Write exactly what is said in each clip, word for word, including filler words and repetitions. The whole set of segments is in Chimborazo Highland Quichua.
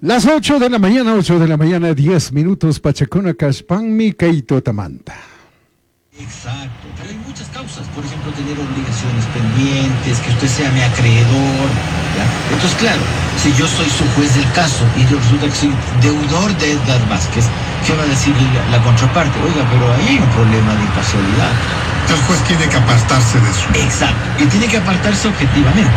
Las ocho de la mañana, ocho de la mañana, diez minutos, Pachacuna Cashpanmi, Kaito Tamanta. Exacto, pero hay muchas causas, por ejemplo, tener obligaciones pendientes, que usted sea mi acreedor, ¿ya? Entonces, claro, si yo soy su juez del caso y resulta que soy deudor de Edgar Vásquez, ¿qué va a decir la, la contraparte? Oiga, pero ahí hay un problema de imparcialidad. El juez tiene que apartarse de su... Exacto, y tiene que apartarse objetivamente.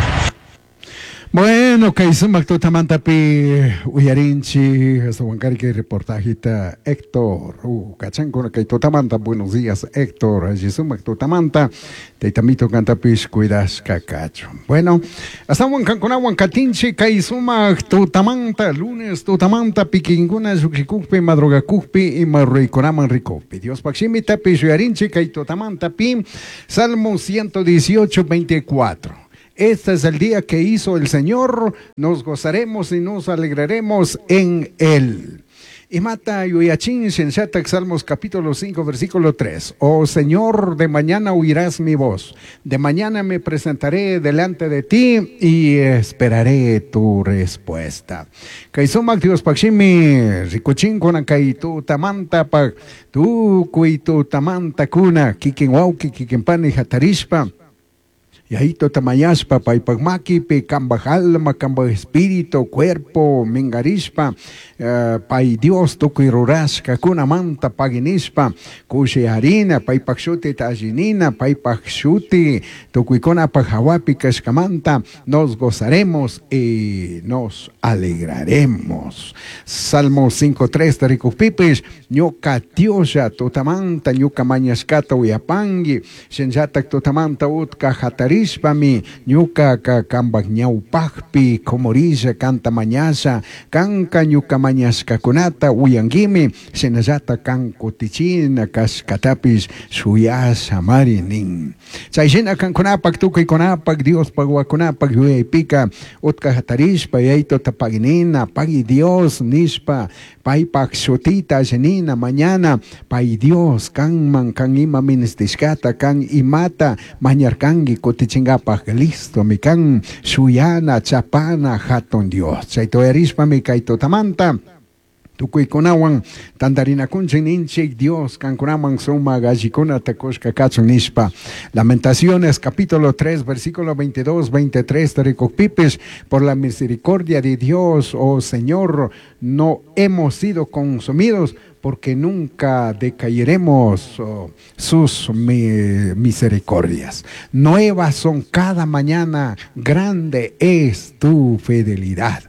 Bueno, kay sumak tutamantapi uyarinchi hasta Huancarque reportajita Héctor, uh, kachankuna kay tutamanta, buenos días Héctor, allí sumak tutamanta, taytamito kantapish cuidashka kachun. Bueno, hasta Huancancunawan katinchi kay sumak tutamanta, lunes tutamanta, pikinkuna lluqshikukpi, madrugakukpi, ima ruykunaman rikukpi. Dios pakshimitapish uyarinchi kay tutamanta pi, Salmo ciento dieciocho, veinticuatro. Este es el día que hizo el Señor, nos gozaremos y nos alegraremos en él. Y mata yuyachin shenchatak, Salmos capítulo cinco, versículo tres. Oh Señor, de mañana oirás mi voz, de mañana me presentaré delante de ti y esperaré tu respuesta. Kaysumak Dios pakshimi, rikuchin kuna kay tu tamanta pak, tukuy tu tamanta kuna, kikin wauki, kikin pani hatarishpa. Y ahí totamayaspa, paypak makipi, kambaj alma, kambaj espíritu, cuerpo, mingarishpa, uh, pay Dios tukuy rurashka, kunamanta paginishpa, kushi harina, paypak shuti tallinina, paypak shuti, tukuykunapaj hawapi kashkamanta, nos gozaremos y nos alegraremos. Salmo cinco tres, tarikukpipis, ñuka Dioslla tutamanta, ñuka mañashkata uyapangi, shinllatak tutamanta utka hatari Rishpami, ñuka ka kambak ñawpakpi, komorilla, kanta mañasha, kanka ñuka mañashkakunata uyanguimi, shinallata kan kutichina kashkatapis shuyasha mari nin. Chay shina kankunapak, tukuykunapak, Diospak wakunapak yuyaypika, utka hatarishpa, yayto tapaginina, pagui Dios nishpa, paypak shutita allinina, mañana, pay Dios, kanman, kan ima ministishkata, kan imata, mañarkangi kutichingapak, listo, mi kan shuyana, chapana, hatun Dios. Chayto yarishpa mi kayto tamanta. Tukuykunawan tantarinakunchik ninchik Dios kankunaman suma gallikuna takushka kachun nishpa. Lamentaciones capítulo tres versículo veintidós, veintitrés tarikukpipis, por la misericordia de Dios, oh Señor, no hemos sido consumidos, porque nunca decaeremos, oh, sus mi-, misericordias. Nuevas son cada mañana, grande es tu fidelidad.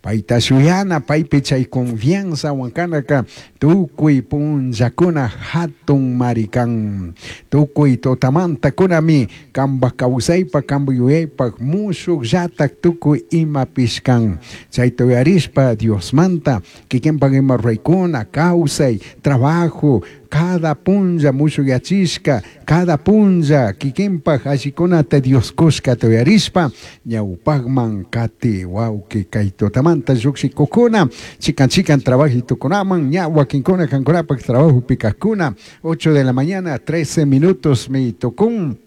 Paita shuyana, paypi chay confianza wankanaka, tukuy punllakuna hatun marikan, tukuy totamanta kunami, kamba kawsaypa, kamba yuyaypa, mushuk llatak tukuy ima pishkan. Chay tuyarishpa Diosmanta, kikinpak ima ruraykuna, kawsay, trabajo, cada punlla mushuyachishka, cada punlla kikinpak allikunata Dios kushka tuyarishpa, ñawpakman kati wawki kay tutamanta lluqshikukuna, chikan chikan trabajitukunaman, ña wakinkuna kankunapak trabajo pikakuna, ocho de la mañana, trece minutos mi tukun.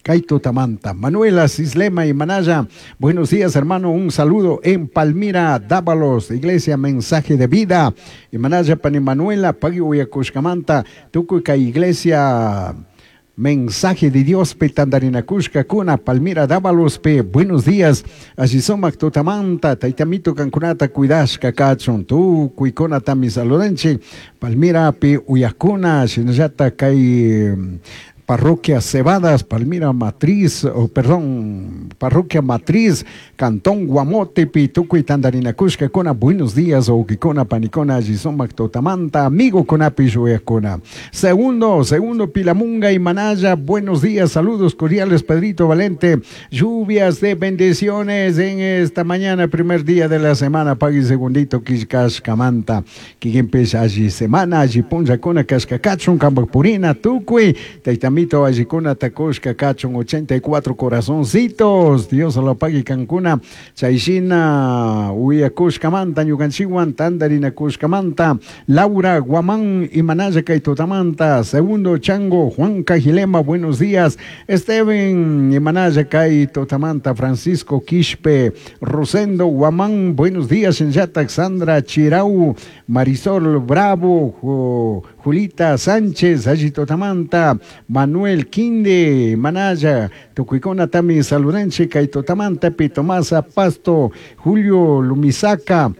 Kay tutamanta. Manuela Cislema y Manaya, buenos días hermano, un saludo en Palmira, Dávalos, Iglesia Mensaje de Vida. Y Manaya Pani Manuela, Pagui Uyakushkamanta, Tukuy Iglesia Mensaje de Dios, Petandarinakushka, Kuna, Palmira, Dávalos, Pe, buenos días, Ashisomak, Tutamanta, Taitamito, Kankunata, Cuidashka, Kachun, Tukuy, Kona, Tami, Saludenche, Palmira, Pe, Uyakuna, Shinayata, Kay, Parroquia Cebadas, Palmira Matriz, oh, perdón, Parroquia Matriz, Cantón Guamote, Pituco y Tandarinacushka, Cona, buenos días, Oquicona, Panicona, Gisomac, Totamanta, amigo Conapi, Shuecona. Segundo, segundo, Pilamunga y Manaya, buenos días, saludos cordiales, Pedrito Valente, lluvias de bendiciones en esta mañana, primer día de la semana, pague segundito, Quiscash, Camanta, Quiquempes, allí semana, allí Punja, Cona, Cascacachun, Cambapurina, Tucui, Taitamito, Amito allikuna takushka kachun ochenta y cuatro corazoncitos. Dios lo pague kankuna chayshina uyakushkamanta ñukanchikwan tantarinakushkamanta. Laura Guamán imanalla kay tutamanta. Segundo Chango Juan Cajilema, buenos días. Esteban imanalla kay tutamanta. Francisco Quispe, Rosendo Guamán, buenos días. Shinllatak Sandra Chirau, Marisol Bravo, Ju, Julita Sánchez, alli tutamanta. Manuel Quinde, Manaya, tukuykuna tami saludanchik kay tutamanta. Tomasa Pasto, Julio Lumisaca,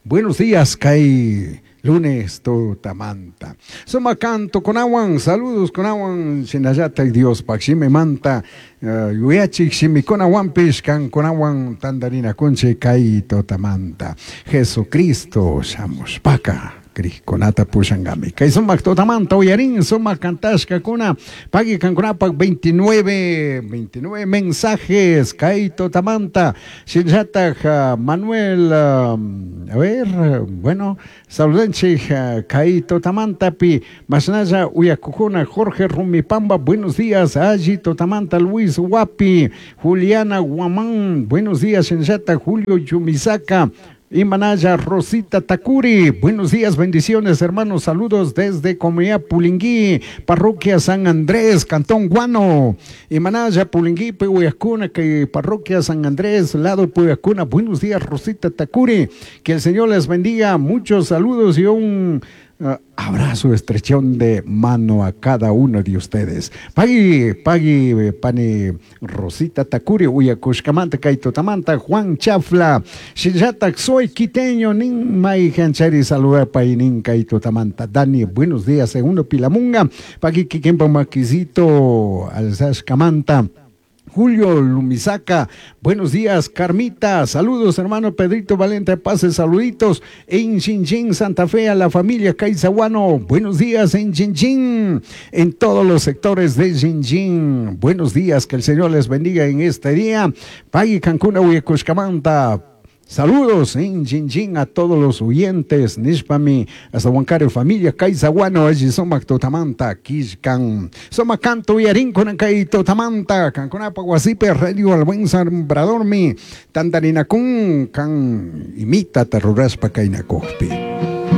buenos días, kay lunes tutamanta. Suma canto kunawan, saludos kunawan, shinallata Dios pakshime manta, uh, yuyachik shimikunawanpish kankunawan tantarinakunchik kay tutamanta. Jesucristo shamushpaka krikkunata pushangami. Kay sumak tutamanta uyarin, sumak kantashkakuna, pagui kankunapak veintinueve, veintinueve mensajes, kay tutamanta. Shinllatak uh, Manuel, um, a ver, bueno, saludanchik uh, kay tutamantapi, mashnalla uyakukuna, Jorge Rumipamba, buenos días, alli tutamanta, Luis Guapi, Juliana Guamán, buenos días, shinllatak Julio Yumisaka, Imanaya Rosita Takuri, buenos días, bendiciones hermanos, saludos desde Comunidad Pulingui, Parroquia San Andrés, Cantón Guano. Imanaya Pulingui, Puyacuna, que Parroquia San Andrés, lado Puyacuna, buenos días Rosita Takuri, que el Señor les bendiga, muchos saludos y un uh, abrazo, estrechón de mano a cada uno de ustedes. Pagui, pagui, pani Rosita Takuri, uyakushkamanta, kaitotamanta, Juan Chafla, Shinllatak, soy quiteño, nin mai hanchari, saluda painin, kaitotamanta, Dani, buenos días, segundo Pilamunga, pagui, kikempa maquisito, alzashkamanta. Julio Lumisaca, buenos días, Carmita, saludos hermano Pedrito Valente, pase saluditos en Chinchín, Santa Fe, a la familia Caizaguano, buenos días en Chinchín, en todos los sectores de Chinchín, buenos días, que el Señor les bendiga en este día, Pagui Cancuna, Huecushcamanta. Saludos en Chinchín a todos los oyentes, Nishpami, hasta Huancario, familia Caizaguano, allí somac totamanta, Quishcan, somac canto y arín con totamanta, Cancunapa, Guasipe, Radio al buen Sambradormi, Tandarinacún, can imita terroraspa kainacojpi.